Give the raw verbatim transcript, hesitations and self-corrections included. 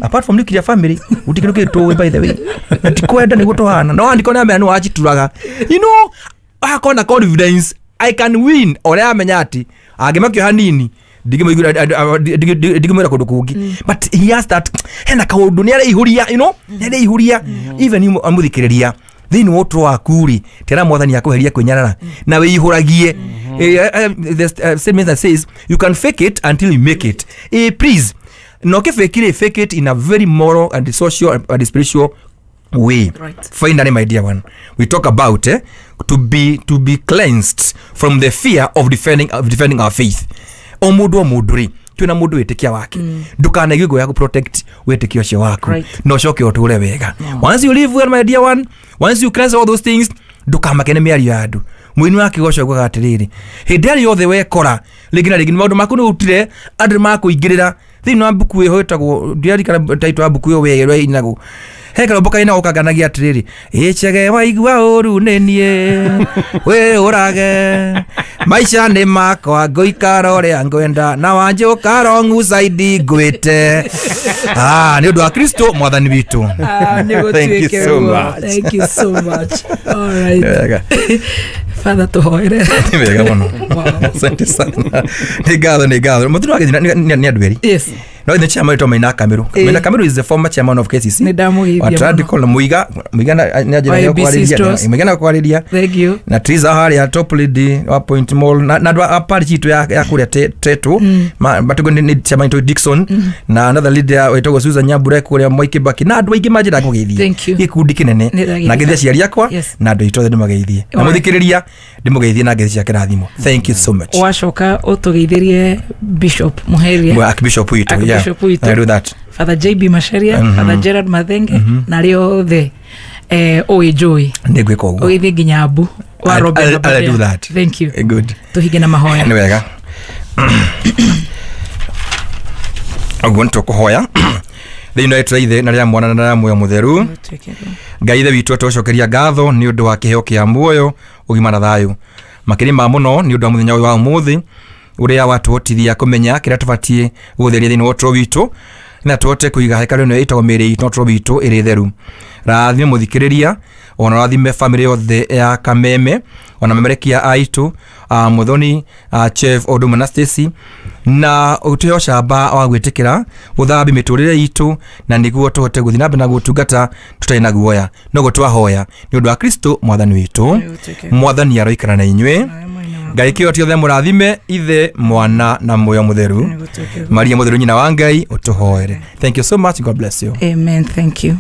Apart from nuclear family gũtirĩ kĩndũ kĩngĩ tũĩ, by the way, na ti kwenda nĩguo tũhana no andĩko nĩ amenya nĩ wacituraga, you know akorwo na confidence I can win, ũrĩa amenya atĩ angĩmakio hanini ndingĩmwĩra kũndũ kũngĩ, but he has that, hena kaũndũ nĩ areihũria, you know nĩ areihũria. Even you mũthikĩrĩria thĩinĩ wa ũtũũro waku rĩ, tera mwathani akũheria kwĩnyarara na wĩihũragie. Eh, eh, the uh, statement that says you can fake it until you make it. Eh, please no kĩfake rĩ, fake it in a very moral and social and spiritual way. Right. Finally, my dear one, we talk about eh, to be to be cleansed from the fear of defending of defending our faith. O mũndũ o mũndũ rĩ, twĩna mũndũ wĩtĩkia wake, ndũkanaigue ngũya gũ protect wĩtĩkio ũcio waku. Right. Na ũcoke ũtũre wega. Once you live well, my dear one, once you cleanse all those things, ndũkamake nĩ mĩario ya andũ. Mũini wa kĩgoco augaga atĩrĩrĩ, hĩndĩ ĩrĩa yothe wekora rĩngĩ na rĩngĩ maũndũ maku nĩ ũrutire andũ nĩmakũingĩrĩra thĩinĩ wa mbuku ĩho ĩtagwo, ndiarikana title ya mbuku ĩyo wega ĩrĩa ĩinagwo, he karũmbo kainagwo kanganagia atĩrĩrĩ, ĩchege waigua ũru nĩ niĩ wĩũrage maica nĩ makwa ngũikara ũrĩa ngwenda na wanjũka wrong side ngwĩte. Ah, nĩ ũndũ wa Kristo mwathani witũ. Ah, nĩ Thank you gũtuĩke so ũguo. much. Thank you so much. All right. Wega. Father, tũhoere. Nĩ wega mũno. Wow. Asante sana, nĩ ngatho, nĩ ngatho. Mũthuri wa gĩthina nĩ nĩ andũ erĩ. Yes. No the chairman wĩtwo Maina Kamiru. Eh. Maina Kamiru is the former chairman of K C C Nĩ ndamũgeithia wa mũno. Tradical na Muiga Muiga na nĩ Wa anjĩra A B C kwarĩria Stores. Muiga na kwarĩria Thank you. na Triza harĩa top lady wa Point Mall na na andũ a parish itũ ya ya kũrĩa Te- Tetu matugo nĩ nĩ chairman wĩtwo Dixon na another leader wĩtagwo Susan Nyambure kũrĩa Mwai Kibaki na andũ aingĩ manjĩra kũgeithia. Thank you. Gĩkundi kĩnene. Nĩ ndagĩrĩka. Na ngeithia aciari akwa Yes. na andũ aitũ othe ndĩmageithie na Alright. mũthikĩrĩria ndĩmũgeithie na ngeithi cia kĩrathimo. Thank you so much. Wacoka ũtũgeithĩrie Bishop Muheria. Well, Archbishop witũ, yeah. Archbishop witũ. I do that. Father J B Macharia, Mhm. Father Gerard Mathenge na arĩa othe eh, ũĩ njũĩ. Nĩ ngwĩka ũguo. Ũgĩthiĩ nginya Abu wa I'll- Robert I'll- I'll Aberdare. do that. Thank you. Good. Tũhinge na mahoya. Nĩ wega ũguo nĩ tũkũhoya thĩinĩ wa rĩtwa rĩa ithe na rĩa mwana na rĩa muoyo mũtheru. Ngai ithe witũ, tũcokeria ngatho nĩ ũndũ wa kĩheo kĩa muoyo, ũgima na thayũ, makĩria ma mũno nĩ ũndũ wa mũthenya ũyũ wa ũmũthĩ ũrĩa watũhotithia kũmenya kĩrĩa tũbatiĩ gũtheria thĩinĩ wa ũtũũro witũ na tũhote kũiga hekarũ ĩno ĩtagwo mĩĩrĩ itũ na ũtũũro witũ ĩrĩ theru. Rathime mũthikĩrĩria, ona rathime bamĩrĩ yothe ya Kameme, ona memerekia aitũ uh, Muthoni, uh, Chef Oduma na Stacy, na ũtũhe ũcamba wa gwĩtĩkĩra gũthambia mĩtũrĩre itũ na nĩguo tũhote gũthiĩ na mbere na gũtungata tũtarĩ na guoya. Noguo twahoya nĩ ũndũ wa Kristo mwathani witũ. Mwathani aroikara na inyuĩ. Ngai kĩo tiothe mũrathime, ithe, mwana na muoyo mũtheru. Maria mũtheru, nyina wa Ngai, ũtũhoere. Thank you so much. God bless you. Amen. Thank you.